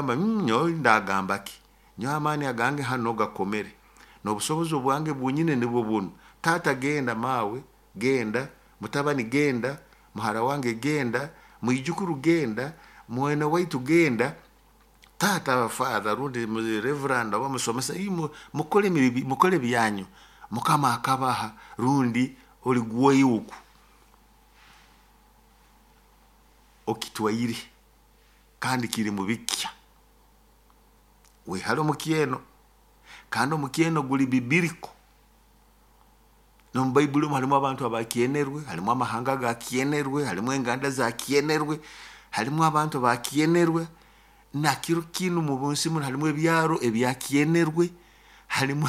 Nyowe ndagamba ki? Nyowe amaani agange hanu gakomere, n'obusobozi obwange bwonyini nibwo bunu. Taata genda, maawe genda, mutabani genda, muhara wange genda, mwijukuru genda, mwene waitu genda, taata, father rundi reverend oba musomesa, imwe mukole mukole byanyu. Mukama akabaha rundi oli gwoiwe oku okitwaire kandi kiri mubikya. Wehale omukyeno, kandi omukyeno guli biblical. N'omu Baibuli omu harimu abantu abakyenerwe, harimu amahanga agakyenerwe, harimu enganda zakyenerwe, harimu abantu abakyenerwe. Na kiro kinu mu nsi munu harimu ebyaro ebyakyenerwe, harimu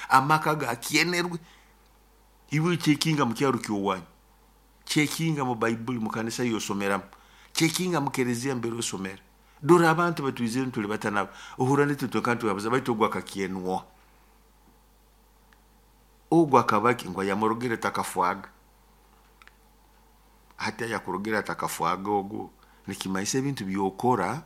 amaka gakyenerwe. Iwe checkinga mu kyaro ky'owanyu, checkinga mu Baibuli mu kanisa y'osomeramu, checkinga mu kereziya mbere osomera. Dora abantu batwizire tuli bata nabo, ohurra nitwe twenka nitwehabuza, baitu ogu akakyenwa. Ogu akaba ki? Ngu ayamurogere takafwaga. Hati ayakurogere atakafwaga ogu, nikimanyisa ebintu by'okora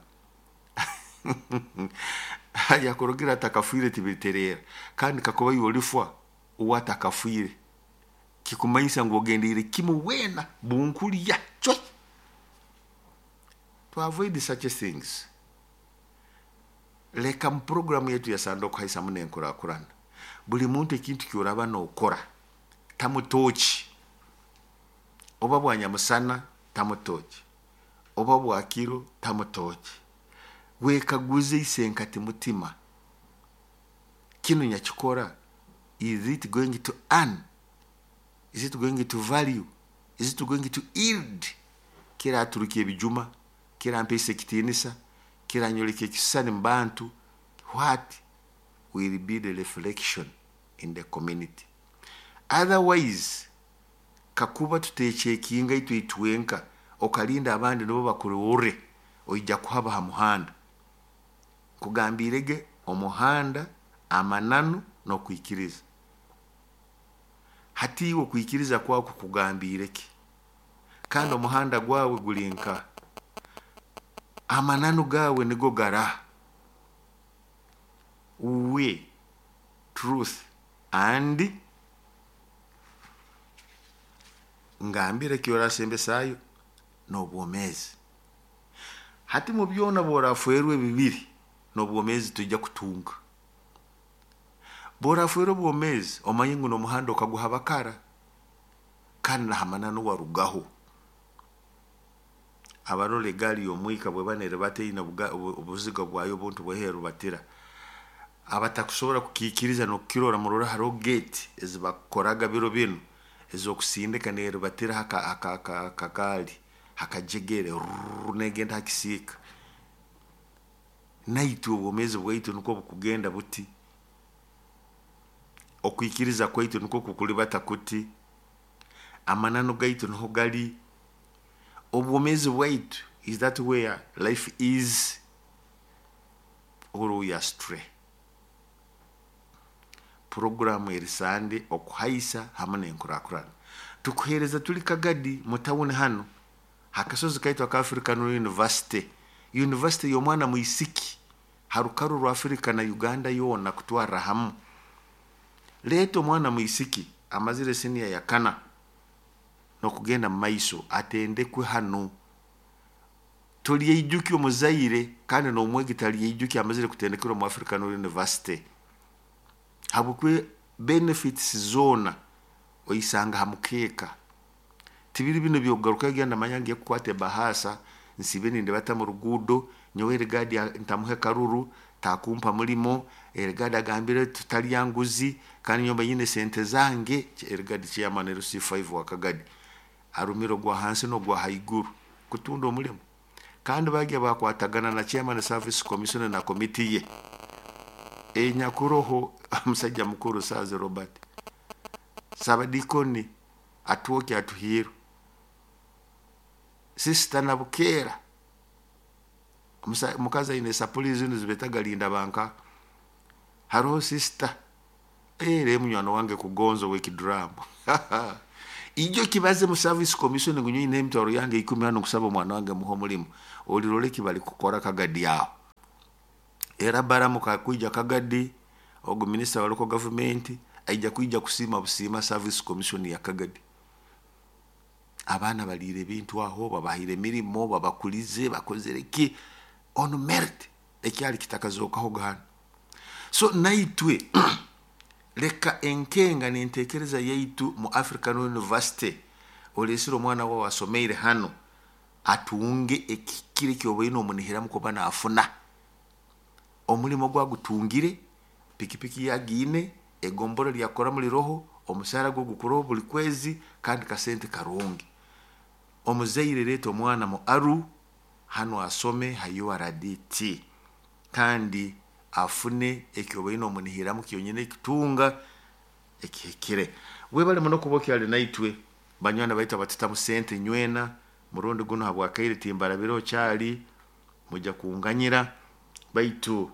ayakurogere atakafiire tibiritereera. Kandi kakuba iwe olifwa uwe atakafiire, kikumanyisa ngu ogendiire kimu weena bunkulya cwe. To avoid such things, leka mu puroguramu yaitu ya Sande okuhaisa muno enkurakurana. Buli muntu ekintu ky'oraba nookora, tamu tooki. Oba bwa nyamusana, tamu tooki. Oba bwa kiro, tamu tooki. Wekaguze isenkati mutima, kinu nyakikora, is it going to earn? Is it going to value? Is it going to yield? Kiraturukya ebijuma, kirampeesa ekitiinisa, kiranyoleka ekisisani mu bantu. What will be the reflection in the community? Otherwise, kakuba tutecheckinga itwe itwenka, okalinda abandi nibo bakurorre, oija kuhaba ha muhanda. Nkugambirege omuhanda, amananu n'okwikiriza. Hati iwe okwikiriza kwawe kukugambiire ki? Kandi omuhanda gwawe guli nkaha? Amananu gaawe nigo garaha? Way, truth and ngambire eki orasembesaayo n'obwomeezi. Hati mu byona bw'orafeerwa ebibiri, n'obwomeezi toija kutunga. Bw'orafeerwa obwomeezi, omanye ngu n'omuhanda okaguhaba kara, kandi na ha mananu warugaho. Abarora egaari y'omwika bweba neribata eine obuziga bwayo obuntu bweho erubatira. Abatakusobora kukiikiriza n'okukirora, murole haroho gate ezibakoraga biro binu ez'okusindika nerubatira hakagaali hakajegere rurr, negenda ha kisiika. Naitwe obwomeezi bwaitu nukwo bukugenda buti, okwikiriza kwaitu nukwo kukulibata kuti, amananu gaitu niho gali, obwomeezi bwaitu, is that where life is or we are astray? Puroguramu eri Sande okuhaisa hamu n'enkurakurana. Tukuheereza tuli Kagadi mu tawuni hanu, ha kasozi kaitu aka African University, University y'omwana mwisiki ha rukaru rwa Africa na Uganda yoona kutwarra hamu. Leeta omwana mwisiki amazire siniya ya kana n'okugenda mu maiso atendekwe hanu. Tolyeijukya omuzaire kandi n'omwegi talyeijukya amazire kutendekerwa omu African University. Habwokuba benefits zoona oisanga ha mukeeka. Tibiri binu eby'okugarukayo genda manya ngiye kukwata ebahaasa nsiibe nindibata mu ruguudo, nyowe erigadi ntamuhe karuru, takumpa mulimo, erigadi agambire tutalya nguzi, kandi nyowe mba nyine sente zange. Erigadi chairman LC5 wa Kagadi arumire ogwa hansi n'ogwa haiguru kutunda omulimo. Kandi bagya bakwatagana na chairman service commission na komiti ye enyakuroho omusajja mukuru Saazi Robert, Sabadikoni Atwoki Atuhiirwe, Sister Nabukeera, omukazi aine esapuri zinu zibetaga linda banka. Haroho sister era munywani wange Kugonza ow'ekiduramu. Ijo kibaze mu service commission ngu nyowe nyine emitwaro yange 10 hanu nkusaba omwana wange muhe omulimo. Olirora eki bali kukora Kagadi aho. Era Baramu kakwija Kagadi, ogu minisita wa local government aija kwija kusiima busiima service commission ya Kagadi. Abaana baliire ebintu aho, babahaire emirimo, babakulize, bakozere ki on merit, ekyali kitakazookaho hanu. So naitwe leka enkenga n'entekereza yaitu mu African University, oleesire omwana wawe asomeire hano atunge ekihikire ekyobaine omunihiramu kuba naafuna. Omulimo gwagutungire, pikipiki yagiine, egombora lyakukoramu liroho, omusaara gwe gukuroho buli kwezi kandi kasente karungi. Omuzaire leeta omwana mu ARU hanu asome ha URDT kandi afune ekyobaine omunihiramu kyonyini ekutunga ekihikire. Webale muno kuba okyali naitwe, banywani baitu abatutamu sente nywena, murundi guno habwakaire timbarabireho kyali, mujja kunganyira, baitu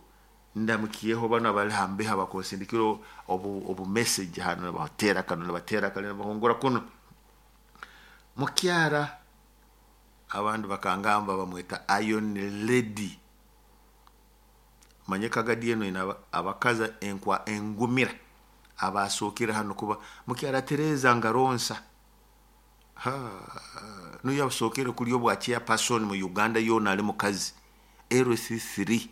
ndamukyeho bano abali hambeho abakunsindikira obu message hano, nibateera kanu, nibateera kanu, nibahungura kunu. Mukyara abandi bakangamba bamweta Iron Lady. Manye Kagadi eno ina abakazi enkwa engumira abasookere hano kuba mukyara Tereza Ngaronsa. Nuyo asookere kuli obwa chairperson mu Uganda yoona ali mukazi LC3.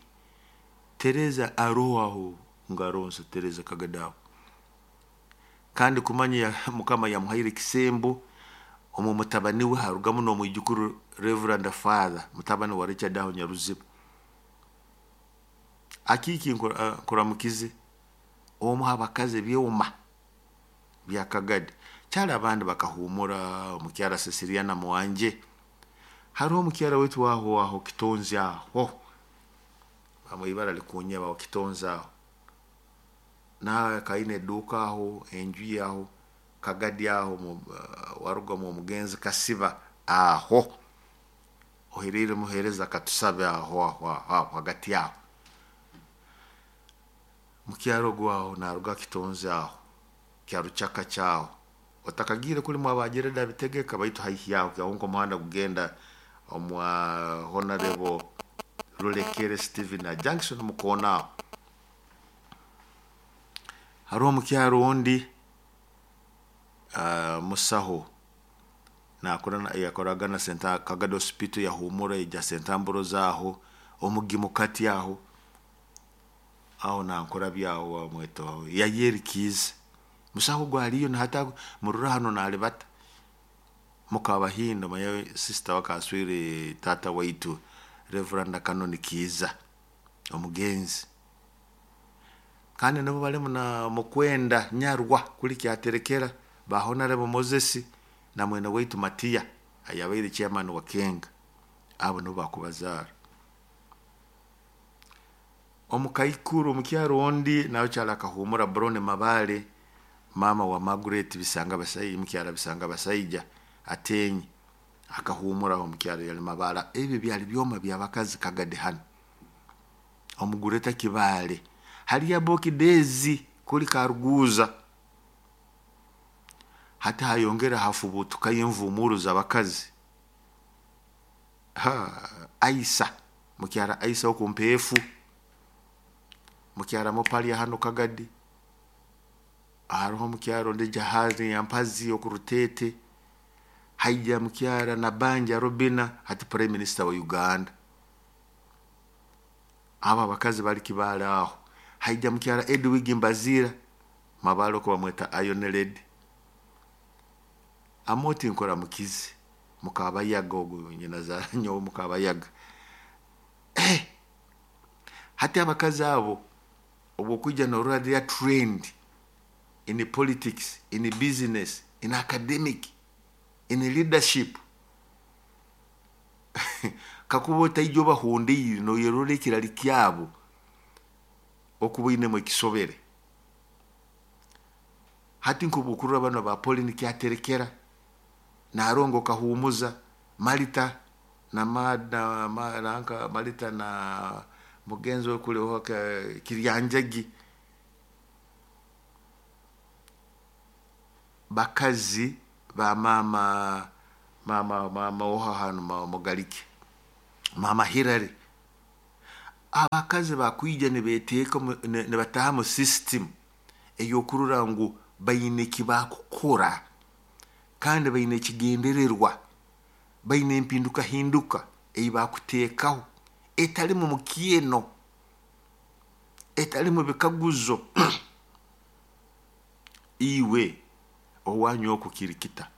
Tereza aroho aho Ngaronsa Tereza Kagadi aho. Kandi kumanya Mukama yamuhaire ekisembo omu mutabani we harugamu n'omwijukuru Reverend Father mutabani wa Richard aho Nyaruziba. Akiiki nkuramukize omu abakazi ebyoma bya Kagadi. Kyali abandi bakahumura omukyara Cecilia na Mwanje. Hariho omukyara wetu aho aho Kitonzi aho. Bamwibara likunyeba aho Kitonzi aho. Na kaine eduka aho, enju aho, Kagadi aho, waruga mu omugenzi Kasiba aho. Oherere muhereza katusabe aho aho aho hagati aho. Mukyaro gwaho naruga Kitonzi aho. Kyaruchaka chao. Otakagire kuli mwabajereda bitegeka baitu haihi yaho kyahonko omuhanda gugenda omwa Honorable Rulekere Steven na Junction mukona aho. Hariho omukyaro ondi musaho nakora yakoraga na Senta Kagadi Hospital yahumura ija Sentamburo zaho omugimu kati aho aho nankora byaho wamweto yayeri kiza musaho gwaliyo na hata murura hano nalibata mukabahindo maye sister wakaswire tata waitu Reverend Canon Kiza omugenzi kandi nabo balimu na mukwenda nyarwa kuli kyaterekera ba Honorable Moses na mwene waitu Matia ayabaire chairman wa Kenga abo nabo bakubazara. Omukaikuru omukyaro ondi nawe kyala kahumura Brone Mabale mama wa Margaret Bisanga Basai mukyara Bisanga Basaija atenyi akahumura omukyaro yali Mabala. Ebyo byali byoma byabakazi Kagadi hano omugureta Kibale hali ya Dezi kuli Karuguza hata hayongera hafubutuka y'imvumuru z'abakazi. Aisa mukyara Aisa okumpefu mukyara mopali hano Kagadi hariho mukyaro ndi jahazi yampazi okurutete haija mukyara na Banja Robina hati Prime Minister wa Uganda. Aba abakazi bali Kibale aho. Haija mukyara Edwig Mbazira mabalo ko bamweta Iron Lady. Amoti nkora mukizi mukabayaga ogu nyina za nyowe mukabayaga. Hati abakazi abo obwokuja norora their trend in politics, in business, in academic, in leadership. Kakuba otaija obahundiire noyerora ekirali kyabo okubainemu ekisobere. Hati nkubukurura bano ba Pauline Kyaterekera Narongo Kahumuza Malita na Malita na mugenzi we kule Kiryanjagi bakazi ba mama mama mama oha hanu mugalike mama Hilary. Abakazi bakwija nibeteeka nibataha mu system ey'okurora ngu baine eki bakukora, kandi baine ekigendererwa, baine empindukahinduka ei bakuteekaho etalimu mukyeno, etalimu bikaguzo. Iwe owanyu oku kiri kita?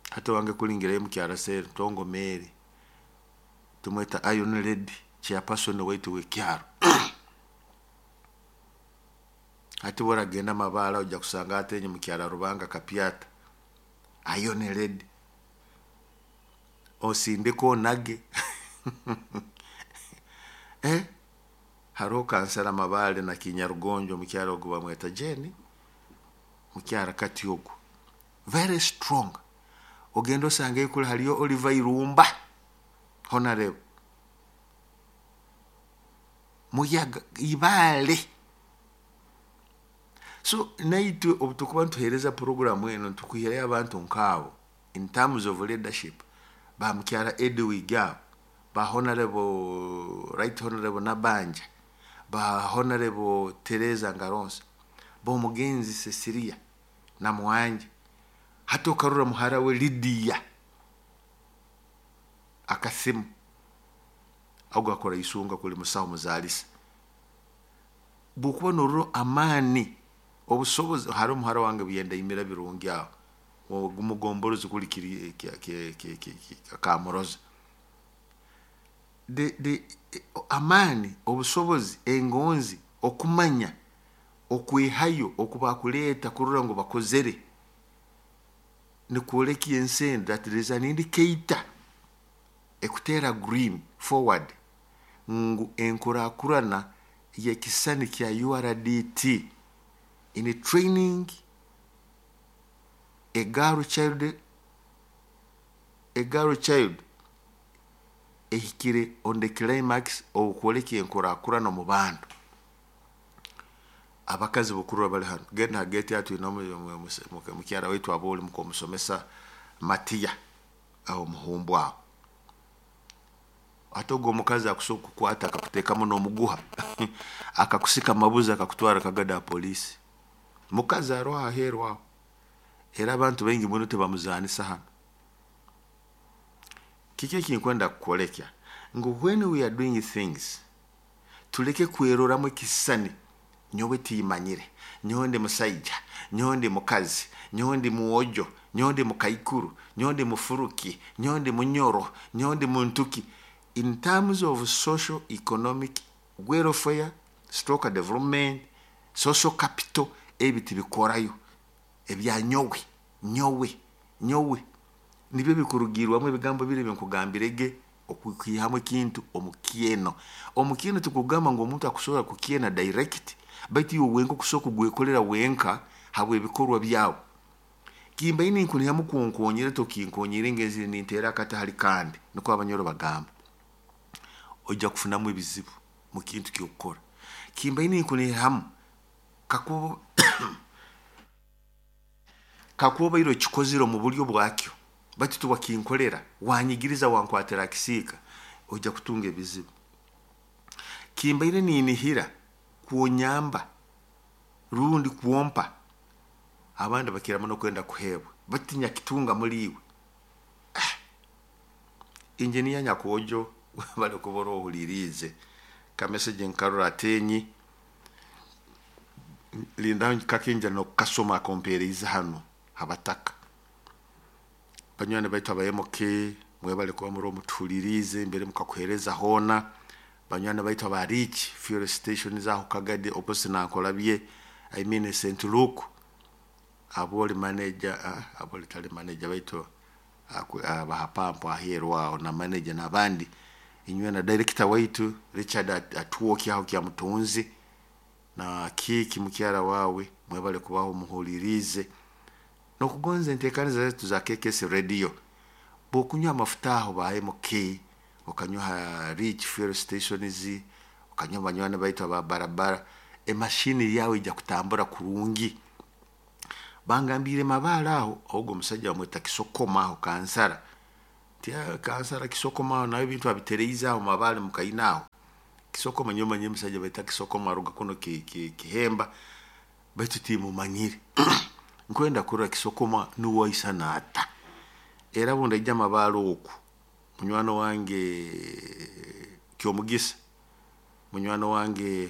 Hati owange kulingirayo mukyara Sentongo Mary, tumweta Iron Lady, chairperson waitu w'ekyaro. Hati bw'oragenda Mabaale ojja kusanga atenye mukyara Rubanga Kapyata, Iron Lady. Osindike onage. Eh? Haroho kansara Mabaale na Kinyarugonjo, omukyara ogu bamweta Jane, mukyara kati ogu very strong. Ogenda osangeyo kuli haliyo Oliver Irumba, honorable muyaga Ibale. So naitwe obu tukuba nituheereza programu eno, nitukwihirayo abantu nkaabo in terms of leadership, ba mukyara Edwig abo, ba honorable, right honorable Nabanja, ba honorable Teresa Ngaronsa, b'omugenzi Cecilia Namwanje. Hati okarora muhara we Lydia akasimu ogu akora isunga kuli musaho muzaalisa. Bwokuba norora amaani, obusobozi, hariho muhara wange byendaimira birungi aho ogumugomborozi kuli kiri kamuroza. Amaani, obusobozi, engonzi, okumanya, okwehayo okubakuleeta kurora ngu bakozere nikwoleka ensi enu that there is an indicator ekuteera green forward ngu enkurakurana y'ekisani kya URDT in training a girl child, a girl child ehikire on the climax okwoleka enkurakurana omu bantu. Abakazi bokurora bali hano, genda ha gate atwine mukyara waitu abooli mukomusomesa Matiya aho omuhumbu aho. Ate ogwo omukazi akusobola kukwata akakuteekamu n'omuguha akakusika amabuzi akakutwara kagada ha poliisi. Mukazi aroho aheeru aho, era abantu baingi muno tibamuzaanisa hano. Kiki ekinkwenda kukwolekya? Ngu when we are doing things, tuleke kweroramu ekisisani, nyowe tiimanyire, nyowe ndi musaija, nyowe ndi mukazi, nyowe ndi mwojo, nyowe ndi mukaikuru, nyowe ndi mufuruki, nyowe ndi munyoro, nyowe ndi muntuki. In terms of social economic welfare stroke development, social capital, ebi tibikorayo. Ebya nyowe, nyowe, nyowe nibyo bikurugirwamu ebigambo biri binkugambirege okwihamu ekintu omukyeno. Omukyeno tikugamba ngu omuntu akusobora kukyena direct, baitu iwe wenka okusobola kugwekolera wenka habw'ebikorwa byawe. Kimbaine ninkunihamu kunkonyera tokinkonyere ngenzire ninteera akati hali kandi, nikwo abanyoro bagamba. Ojja kufunamu ebizibu mu kintu ky'okukora. Kimbaine ninkunihamu kakuba obaire okikozire omu buryo bwakyo, baitu tiwakinkolera, wanyigiriza wankwatira akisiika, ojja kutunga ebizibu. Kimbaire ninihira kwonyamba rundi kwompa, abandi bakira muno kwenda kuheebwa, baitu tinyakitunga muli iwe. Engineer Nyakwojo bali kuba ohuliriize kamessage nkarora atenyi, linda kakinja nokukasoma akompeerize hano habataka. Banywani baitu aba MK mwebale kuba muri mutuhuliriize mbere mukakuheereza hoona. Banywani baitu aba Rich fuel station aho Kagadi opposite Nankolabye, I mean St Luke, aboli manager, aboli tali manager baitu abaha pampu aheeru aho na manager n'abandi, inywe na director waitu Richard Atwoki aho kya Mutunzi na Kiki mukyara wawe, mwebale kubaho muhuliriize nokugonza enteekaniza zaitu za KKS Radio. Bwokunywa amafuta aho ba MK, okanywa ha Rich fuel stations, okanywa banywani baitu aba barabara, emashini yawe ijja kutambura kurungi. Bangambire Mabaale aho, ogwo omusajja bamweta Kisokoma aho kansara. Nti kansara Kisokoma nawe ebintu abitereize aho Mabale mukaina aho. Kisokoma nyowe manyire omusaija baita Kisokoma aruga kuno Kihemba baitu timumanyire. Nkwenda kurora Kisokoma nuwe aisana ata. Era bundaija Mabale oku munywani wange Kyomugisa, munywani wange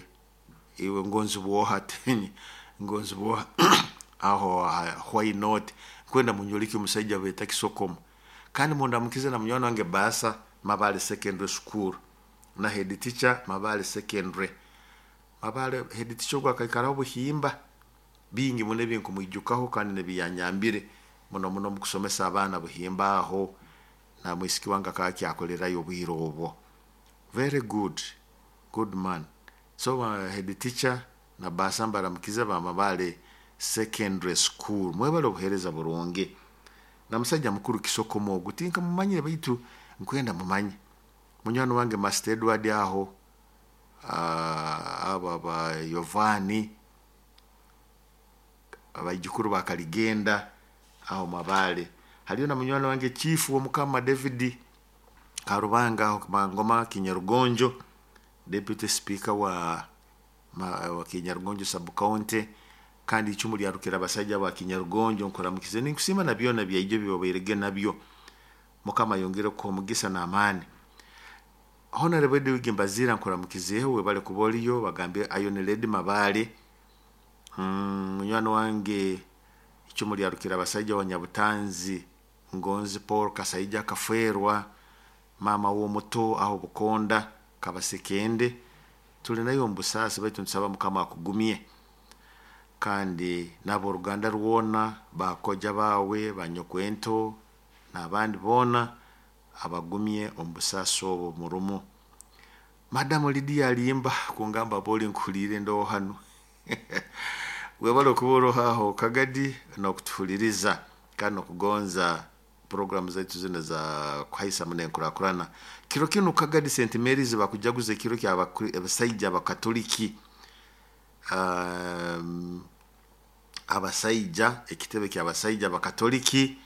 iwe Ngonzibwoha Ngonzibwoha aho why not, nkwenda munyoleke omusaija baita Kisokoma. Kandi mundamukize na munywani wange Baasa Mabale Secondary School na head teacher Mabale Secondary. Mabale head teacher ogu akaikaraho Buhimba, bingi muno ebinkumwijukaho kandi nebiyanyambire muno muno omu kusomesa abaana Buhimba aho, na mwisiki wange akaba akyakolerayo obwire obwo. Very good, good man. So head teacher na Baasa mbaramukize ba Mabale Secondary School. Mwebale obuheereza burungi. Na musaija mukuru Kisokoma ogu tinkamumanyire baitu nkwenda mumanye. Munywani wange Master Edward aho, abo ba Yovani, abaijukuru ba Kaligenda aho Mabale. Haliyo na munywani wange Chief w'Omukama David Karubanga aho Mangoma Kinyarugonjo, Deputy Speaker wa Kinyarugonjo Sub County, kandi icumu lyarukira abasajja ba Kinyarugonjo. Nkuramukize ninkusiima na byona byaijo byobairege nabyo. Mukama ayongere kuha omugisa n'amaani. Honorable Edwig Mbazira nkuramukizeho, webale kuba oliyo, bagambe Iron Lady Mabale. Munywani wange icumu lyarukira abasajja wa Nyabutanzi Ngonzi Paul Kasaija akafwerwa mama w'omuto aho Bukonda Kabasekende, tuli nayo omu busaasi baitu nitusaba Mukama akugumye. Kandi n'aboruganda rwona, bakoja bawe, banyokwento n'abandi boona abagumye omu busaasi obwo murumu. Madamu Lydia Alimba kungamba boli nkuhuliire ndoho hanu. Webale okuba oroho aho Kagadi n'okutuhuliriza kandi n'okugonza programu zaitu zino za kuhaisa muno enkurakurana. Kiro kinu Kagadi St Mary's bakujaguza ekiro kya abasaija abakatoliki. Abasaija, ekitebe ky'abasaija abakatoliki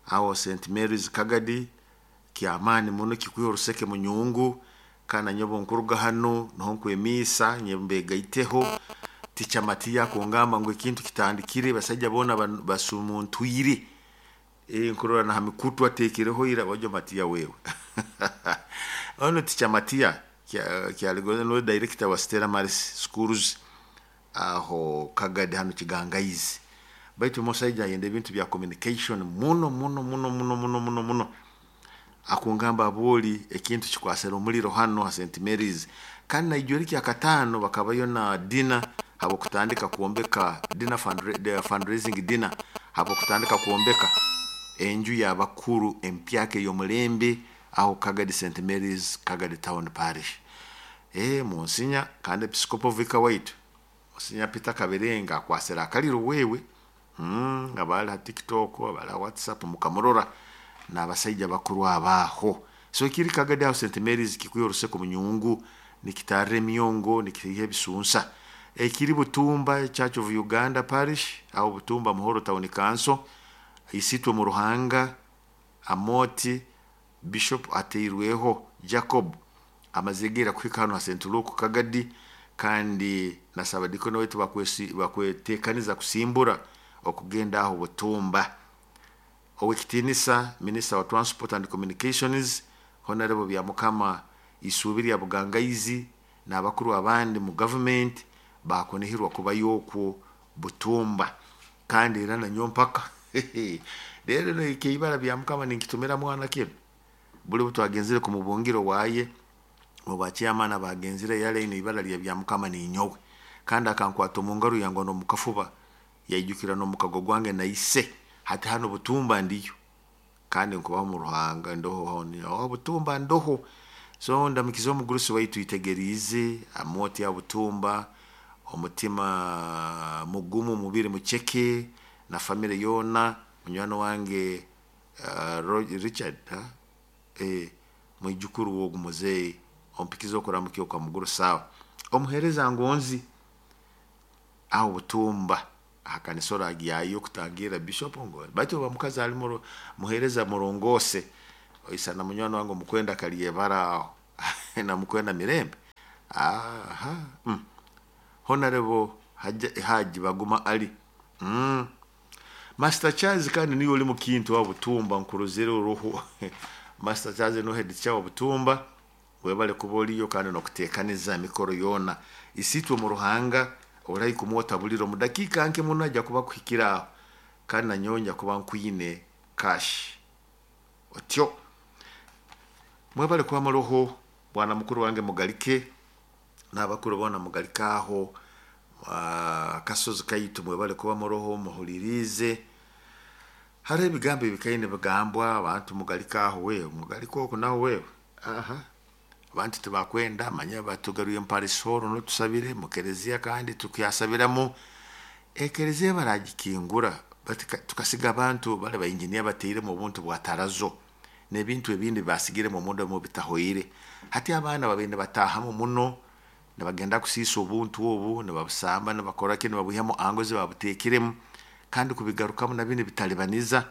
aho St Mary's Kagadi kyamaani muno, kikwiha oruseke munyungu. Kandi nanyowe nkuruga hanu niho nkwemiisa mbegaiteho. Ticha Matiya akungamba ngu ekintu kitandikire, basaija boona basumuntwire. Nkurora na ha mikutu ateekereho ira ojo Matiya wewe. Ono Ticha Matiya kyaligonza nuwe director wa Stella Maris Schools aho Kagadi hanu Kigangaizi. Baitu omusaija ayenda ebintu bya communication muno muno muno muno muno muno muno. Akungamba aboli ekintu kikwasira omuliro hano ha St Mary's. Kandi naijweri kyakataano bakabayo na dinner habwokutandika kwombeka dinner fundraising dinner habwokutandika kwombeka enju y'abakuru empyaka ey'omulembe aho Kagadi St Mary's Kagadi Town Parish. Monsinya kandi Episcopal Vicar waitu Monsinya Peter Kaberenga akwasira akaliro wewe. Abali ha TikTok, abali ha WhatsApp mukamurora n'abasaija bakuru abaho. So ekiri Kagadi aho St Mary's kikwiha oruseko munyungu, nikitarra emyongo, nikiiha ebisunsa. Ekiri Butumba Church of Uganda Parish aho Butumba Muhoro Town Council, Isitwe mu Ruhanga Amoti Bishop ateirweho Jacob amazegeera kuhika hano ha St Luke Kagadi, kandi nasaba dikono waitu bakwetekaniza kusimbura okugenda aho Butumba. Owekitinisa Minister wa Transport and Communications Honorable Byamukama Isuubi lya Bugangaizi n'abakuru abandi mu government bakunihirwa kubayo okwo Butumba. Kandi era nanyo mpaka rero ekeibara Byamukama ninkitumira mwana kinu. Buli butwagenzire ku mubungiro waye mu ba chairman abagenzire yale ino ibara lya Byamukama ninyowe. Kandi akankwata omu ngaro yange n'omukafuba yaijukira n'omukago gwange naise hati hano Butumba ndiyo. Kandi nkubaho mu Ruhanga ndoho honi aho Butumba ndoho. So ndamukiza omugurusi waitu itegerize amoti ya Butumba, omutima mugumu mubiri mucheke na family yona. Munywani wange Richard mwijukuru wogu muzei ompikiza okuramukia okwa muguru sawa. Omuhereza ngonzi aho Butumba akanisa oragyayo kutangira Bishop ngo baitu bamukazi ali muhereza murongose. Oisana munywani wange omukwenda Kalyebara aho namukwenda Mirembe. Aha. Honorable Haji Baguma Ali. Master Charles kandi niyo oli mukintu wa Butumba, nkuruzire uruhu. Master Charles no head chawa Butumba, webale kuba oliyo kandi nokutekaniza mikoro yona isitwe mu Ruhanga orayi kumwota buliro mu dakika nke muno ajja kuba kuhikira aho, kandi nanyonya kuba nkwine cash otyo. Mwebale kuba muroho bwana mukuru wange mugalike n'abakuru bona mugalike aho kasozi kaitu, mwebale kuba muroho muhulirize. Hariho ebigambo ebikaine bigambwa abantu mugalike aho, wewe mugalike oku nawe wewe. Aha, abantu tibakwenda manya batugaruye mu parisoro notusabire mu kereziya, kandi tukyasabiramu ekereziya baragikingura tukasiga abantu bale ba engineer bateiremu obuntu bwa tarazo n'ebintu ebindi basigiremu omunda mu bitahoire. Hati abaana babende batahamu muno nibagenda kusiisa obuntu obu, nibabusamba, nibakora ki, nibabwihamu angozi babuteekiremu, kandi kubigarukamu nabyo nibitalibaniza.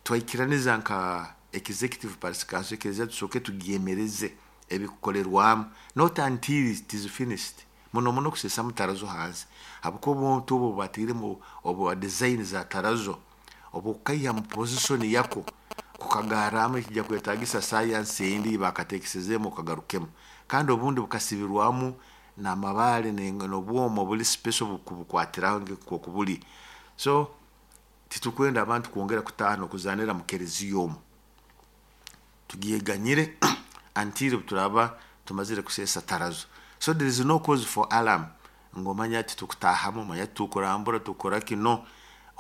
Twaikiraniza nka executive parish council ekereziya tusooke tugyemereze ebikukorerwamu, not until it is finished. Muno muno kusesamu tarazo hansi, habwokuba obuntu obu bateiremu obu design za tarazo obukaiha mu position yako kukagarramu ekijja kwetagisa science endi bakatekesezemu okagarukemu, kandi obundi bukasibirwamu n'amabaale n'obwoma obuli special bukubukwatiraho nk'oku buli. So titukwenda abantu kwongera kutaaha n'okuzanira mu kereziya omu, tugyeganyire until turaba tumazire kuseesa tarazo. So there is no cause for alarm ngu omanya titukutahamu, manya titukurambura tukora kino.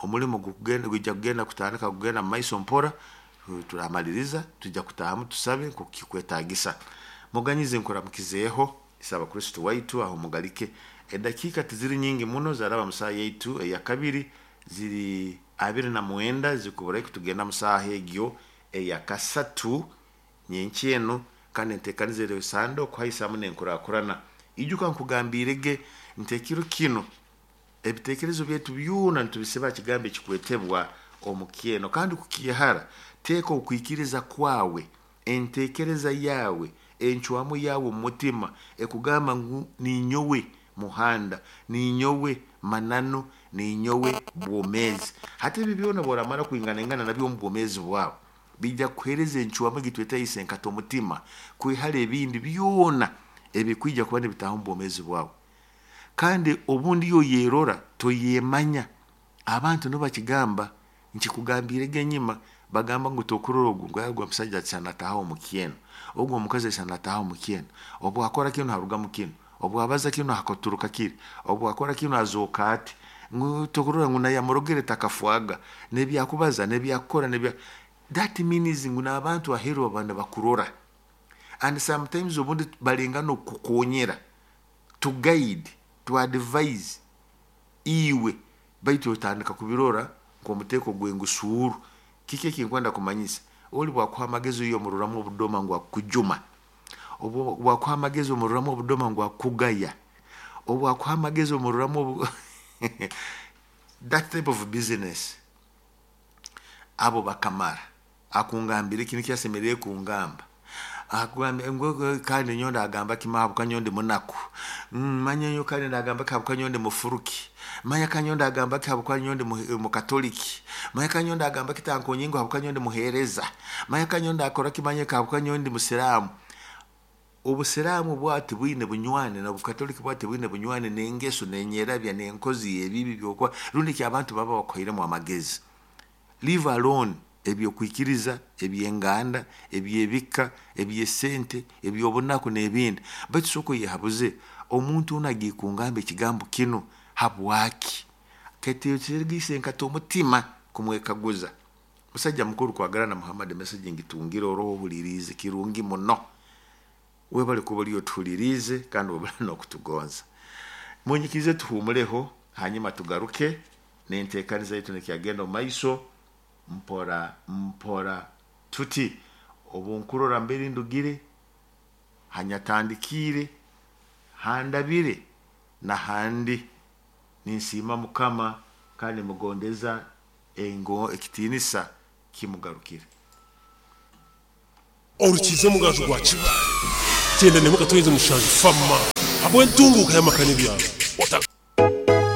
Omulimo gwijja kugenda kutandika kugenda mu maiso mpora, turamaliriza tujja kutahamu tusabe nkoku kikwetagisa. Muganyize nkuramukizeeho isaba Kristo waitu aho mugalike. Edakiika tiziri nyingi muno, zaraba mu saaha yaitu eya kabiri, ziri 29 zikuburayo kutugenda mu saaha egyo eya kasatu nyenkyeno, kandi enteekaniza eri sande okuhaisamu n'enkurakurana. Ijuka nkugambirege nti ekiro kino ebitekerezo byaitu byona nitubisiba kigambo ekikwetebwa omukyeno, kandi kukyehara teeka okwikiriza kwawe, entekereza yawe, encwamu yawe omu mutima ekugamba ngu ninyowe muhanda, ninyowe mananu, ninyowe bwomeezi. Hati ebi byona bworamara kwinganaingana nabyo omu bwomeezi bwawe, bijja kukuheereza encwamu egitweta enkata omutima kwihara ebindi byona ebikwija kuba nibitaaha omu bwomeezi bwawe. Kandi obundi yo yerora toyemanya, abantu nibakigamba nkikugambirege enyima, bagamba ngu tokurora ogu ngu ogwo omusajja asanataha omukyeno, ogwo omukazi asanataha omukyeno, obu akora kinu harugamu kinu, obu abaza kinu hakaturuka kiri, obu akora kinu azooka ati, ngu tokurora ngu nayamurogere takafwaga, nebyakubaza nebyakukora nebya that means ngu n'abantu aheeru baba nibakurora, and sometimes obundi balenga n'okukukonyera to guide, to advise iwe, baitu otandika kubirora nk'omuteeko gw'engusuuru. Kiki ekinkwenda kumanyisa? Oli bwakuha amagezi oyo omuroramu obudoma ngu akukujuma, obu bwakuha amagezi omuroramu obudoma ngu akukugaya, obu akuha amagezi omuroramu that type of business. Abo bakamara akungambira ekintu kyasemerire kungamba, akugambye kandi nyowe ndagamba ki habwokuba nyowe ndi munaku, manya nyowe kandi ndagamba ki habwokuba nyowe ndi mufuruki, manya kandi nyowe ndagamba ki habwokuba nyowe ndi mukatoliki, manya kandi nyowe ndagamba ki tankonyengo habwokuba nyowe ndi muheereza, manya kandi nyowe ndakora ki manya habwokuba nyowe ndi musiraamu. Obusiraamu bwati bwine bunywani n'obukatoliki bwati bwine bunywani n'engeso n'enyerabya n'enkozi y'ebibi byokwa rundi ki abantu baba bakuhairemu amagezi. Leave alone ebyokwikiriza, ebyenganda, ebyebika, ebyesente, ebyobunaku n'ebindi. Baitu sooka oyehabuze omuntu onu agiye kungamba ekigambo kinu habwaki? Keteekyerigise nkata omutima kumwekaguza. Musajja mukuru kwagala na Muhammad message ngitungire oroho ohuliriize kirungi muno. Webale kuba oli otuhuliriize kandi webale n'okutugonza. Munyikirize tuhumuleho hanyuma tugaruke n'enteekaniza yaitu nekyagenda omu maiso mpora mpora tuti obu nkurora mbere ndugire, hanyatandikiire, handabire n'ahandi, ninsiima Mukama kandi mugondeza ekitiinisa kimugarukire. Orukiize omugaju gwa Kibaale, 97.7 Fama habw'entunguuka y'amaka n'ebyaro.